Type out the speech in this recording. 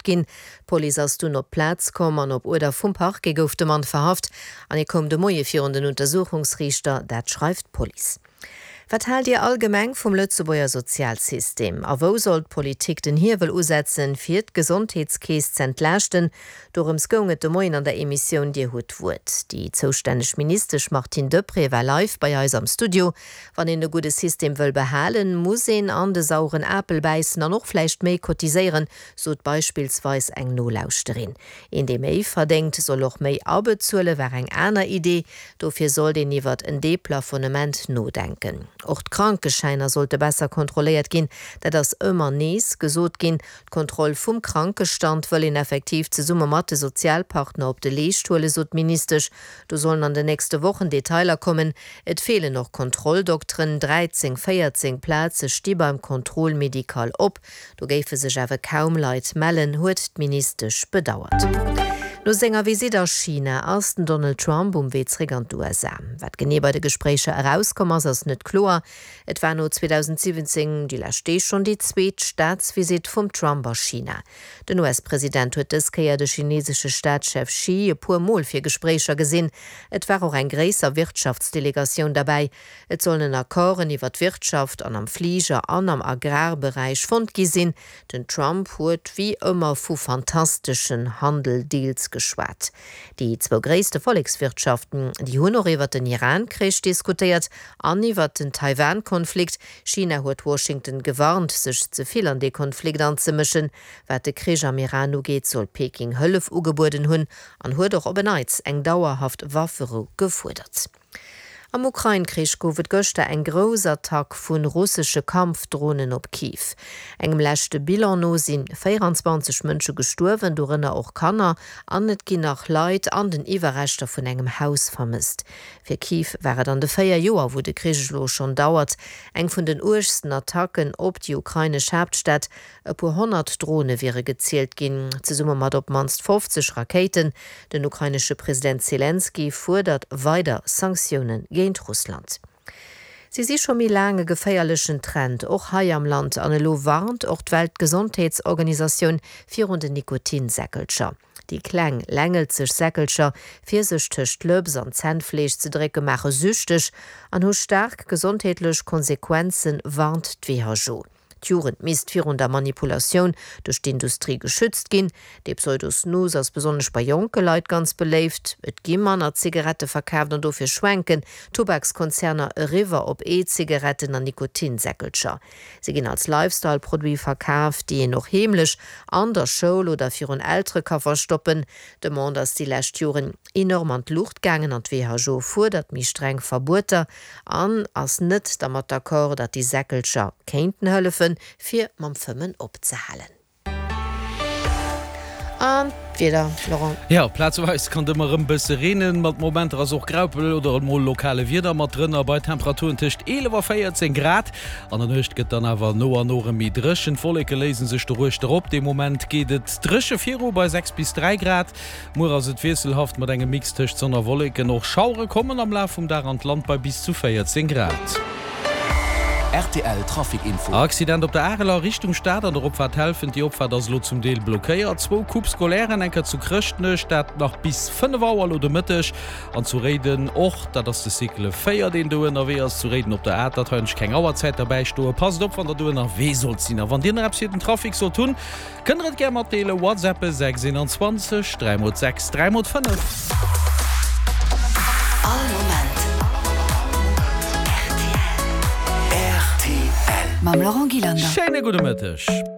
ginn. D'Police ass dunn op d'Plaz komm an op Uerder vum Parquet gouf de Mann verhaft an hie koum de Moie virun den Untersuchungsriichter, dat schreift d'Police. Wat haalt Dir allgemeng vum Lëtzebuerger Sozialsystem? A wou soll d'Politik den Hiewel usetzen, fir d'Gesondheetskeess z'entlaaschten? Dorëms goung et de Moien an der Emissioun Dir hutt d'Wuert. Déi zoustänneg Ministesch Martine Deprez war live bei eis am Studio. Wann een e gudde System wëll behalen, muss een an de sauren Apel bäissen an och vläicht méi cotiséieren, sot beispillsweis eng Nolauschterin. Een dee méi verdéngt, soll och méi abezuelen, war eng aner Idee. Dofir sollt een iwwert en Deplafonnement nodenken. Och d'Krankeschäiner sollte besser kontrolléiert ginn, dat ass ëmmer nees gesot ginn. D'Kontroll vum Krankestand wëll een effektiv zesumme mat de Sozialpartner op de Leescht huelen, sot d'Ministesch. Do sollen an den nächste Wochen Detailer kommen. Et feelen och Kontrolldokteren, 13, 14 Plaze sti beim Contrôle médical op. Do géife sech awer kaum Leit mellen, huet d'Ministesch bedauert. No senger Visitt a China ass den Donald Trump um Wee zréck an d'USA. Wat genee bei de Gespréicher erauskomm ass, ass net kloer. Et war no 2017 déi lescht Deeg schonn déi zweet Staatsvisitt vum Trump a China. Den US-President huet dës Kéier de chinesesche Staatschef Xi e puer Mol fir Gespréicher gesinn. Et war och eng gréisser Wirtschaftsdelegatioun derbäi. Et sollen en Accorden iwwer d'Wirtschaft an am Fliger an am Agrarberäich fonnt gi sinn. Den Trump huet wéi ëmmer vu fantasteschen Handel-Deals geschwat. Déi zwou gréisste Vollekswirtschaften, déi hunn och iwwer den Iran-Krich diskutéiert an iwwer den Taiwan-Konflikt. China huet Washington gewarnt, sech ze vill an dee Konflikt anzemëschen. Wat de Krich am Iran ugeet, soll Peking Hëllef ugebueden hunn an huet och op en Neits eng dauerhaft Wafferou gefuerdert. Am Ukrain-Krich gouf et gëschter eng grouss Attack vu russesche Kampfdronen op Kiew. Engem leschte Bilan no si 24 Mënsche gestuerwen, dorënner och Kanner, an et ginn nach Leit an den Iwwerreschter vun engem Haus vermësst. Fir Kiew war et an de 4 Joer, wou de Krich elo schonn dauert, eng vun den uergsten Attacken op déi ukrainesch Haaptstad. E puer 100 Drone wiere gezielt ginn, zesumme mat op d'mannst 50 Rakéiten. Den ukrainesche President Selenskyj fuerdert weider Sanktioune géint Russland. Si si scho méi laang e geféierlechen Trend, och hei am Land. An elo warnt och d'Weltgesondheetsorganisatioun virun den Nikotinsäckelcher. Déi kleng, längelzeg Säckelcher, fir sech tëscht d'Lëps an d'Zännfleesch ze drécke maache süchteg an hu staark gesondheetlech Konsequenzen, warnt d'WHO. D'Jugend misst virun der Manipulatioun duerch d'Industrie geschützt ginn. Dee Pseudo-Snus ass besonnesch bei jonke Leit ganz beléift. Et gi manner Zigarette verkaaft an dofir schwenken d'Tubakskonzerner eriwwer op E-Zigaretten an Nikotinsäckelcher. Se ginn als Lifestyle-Produit verkaf, déi een och heemlech an der Schoul oder virun Eltere ka verstoppen. D'Demande ass déi lescht Joren enorm an d'Luucht gaangen an d'WHO fuerdert méi streng Verbueter an ass net dermat d'accord, datt déi Säckelcher kéinten hëllefen, fir mam Fëmmen opzehalen. An d'Wieder, Laurent? Jo, plazeweis kann et ëmmer erëm bësse reenen, mat Momenter ass och Graupel oder emol lokale Wieder mat drënner, bei Temperaturen tëscht 11 a 14 Grad. An der Nuecht gëtt dann awer no an no erëm méi dréchen, d'Wolleke léise sech doruechter op. De Moment geet et dréche viru bei 6 bis 3 Grad. Muer ass et wiesselhaft mat engem Mix tëscht Sonn a Wolleken. Och Schauere kommen am Laf vum Dag an d'Land bei bis zu 14 Grad. Rtl Trafic Info. Accident op der Areler Richtung Stad an der Opfaart Helfent. Déi Opfaart ass elo zum Deel blockéiert. Zwou Coupes scolaires, eng Kéier zu Chrëschtnech, dat nach bis 5 Auer elo de Mëtteg, an zu Réiden och. Dat ass de Cycle 4, deen do ënnerwee ass zu Réiden op der Atert. Hei hunn ech keng Auerzäit derbäi stoen. Passt op, wann der do ënnerwee sollt sinn. A wann dir nach eppes fir den Trafic sollt hunn, Kënnt der et gär matdeelen, WhatsAppen 6 21 3 mol 6 3 mol 5. All Moment rtl. Mam Laurent Gillander. Schéine gudde Mëtteg.